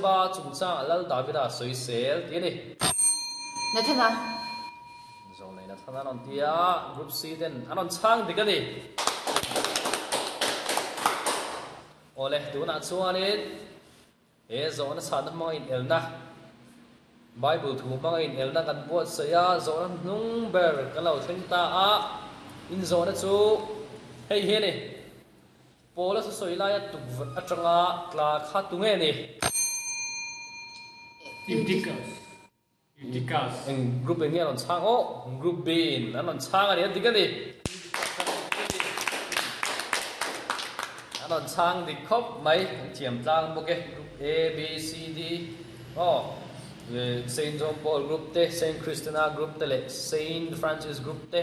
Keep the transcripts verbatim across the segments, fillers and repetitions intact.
Bathsheba chungchang Lal Davida sawisel tih a ni. Nathana. Zawlnei Nathana an rawn ti a, Group C ten an rawn chhang dik a ni. Awle, tunah chuanin he zawhna chhahna hmanga inelna, Bible thu hmanga inelna kan buatsaih a, zawhna hnung ber kan lo thleng ta a, inzawhna chu hei hi a ni. Paula sawi laia tukverh atanga tla kha tu nge ni? Eutychus. Eutychus. Eng group in nge an rawn chhang? Aw, Group B in an rawn chhang a ni, a dik a ni. An rawn chhang dik khawp mai, an thiam tlang bawk e. Group A, B, C, D, aw, Saint John Paul group te, Saint Christina group te leh Saint Francis group te.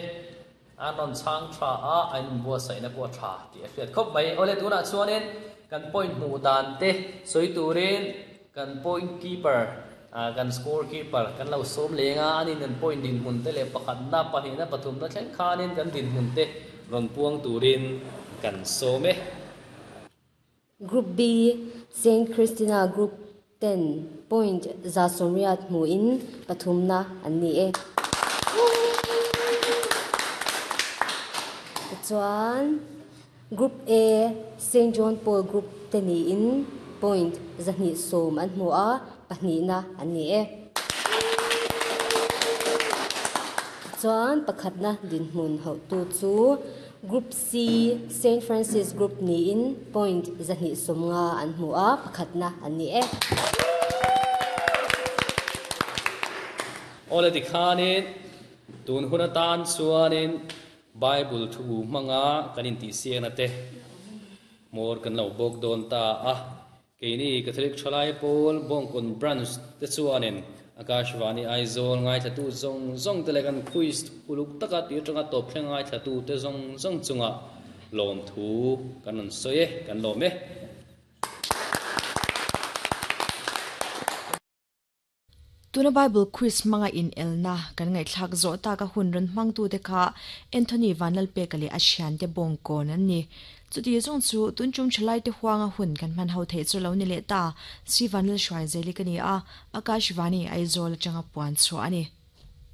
A rawn chhang tha a, a inbuatsaihna pawh a tha tih a hriat khawp mai. Awle tunah chuanin kan point hmuh dan te sawi turin kan point keeper, kan score keeper kan lo sawm leng a, anin kan point dinhmun te leh pakhatna, pahnihna, pathumna thleng khanin kan dinhmun te rawn puang turin kan sawm e. Group B, Saint Christina Group ten point za sawmriat hmuhin pathumna an ni e. Tichuan, Group A, Saint John Paul Group te niin point zahnih sawm an hmu a, pahnihna an ni e. Tichuan, pakhatna dinhmun hauhtu chu Group C, Saint Francis Group niin point zahnih sawmnga an hmu a, pakhatna an ni e. Awle tikhanin tun hun atan chuanin Bible thu hmanga kan intihsiakna te hmawr kan lo bawk dawn ta a. Keini Catholic Thalai Pawl Bawngkawn Branch te chuanin Akashvani Aizawl ngaithlatu zawng zawng te leh kan quiz uluk taka tih atanga tawp thleng ngaithlatu te zawng zawng chungah lawmthu kan rawn sawi e, kan lawm e. Tuna Bible quiz hmanga inelna kan ngaihthlak zawh taka hun rawn hmangtute kha Anthony Vanlalpeka leh a thiante Bawngkawn an ni. Chuti zawng chu tun tum thalaite huanga hun kan hman ho theih chu lo ni leh ta, Si Vanlalhruai Zeli ka ni a, Akashvani Aizawl atanga puan chhuah a ni.